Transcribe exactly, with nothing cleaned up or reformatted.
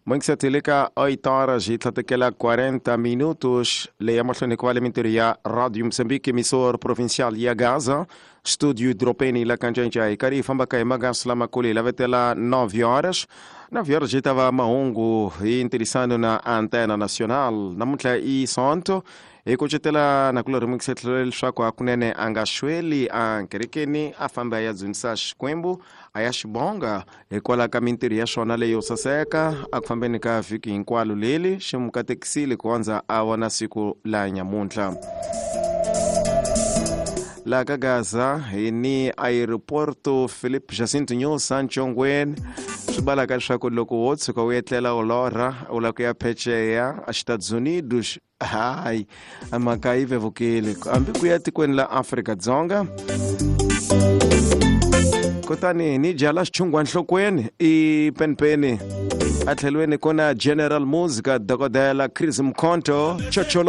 Moingisatile ka oito horas e tlhatekela quarenta minutos leya mahlweni ku va le mintirho ya Radio Moçambique, emissor provincial ya Gaza, studio Dropeni la Kanjenja. Hi karhi hi fambaka hi magasi lamakulu hi lavetela nove horas. nove horas hi ta va mahungu hi ntirhisano na Antena Nacional. Namuntlha i Sonto, hi kucetela na ku rimukisa leswaku hakunene a nga xweli a kerekeni, a famba ya dzunisa Xikwembu, a ya xibonga hikwalaho ka mintirho ya xona leyo saseka a ku fambeni ka vhiki hinkwalo leli xi mu katekisile ku hundza a vona siku la nyamuntlha. La ka Gaza hi ni aeroporto Philip Jacinto Nyusi Ntshongweni, swi balaka leswaku loko wo tshuka u etlela u lorha u lava ku ya pheceya a Estados Unidos, hayi, mhaka yi vevukile hambi ku ya tikweni la Afrika-Dzonga. Kutani ni jala xichungwa nhlokweni i penipeni a tlhelweni ku na General Musica, Dokodela Chris Mkhonto chocholo.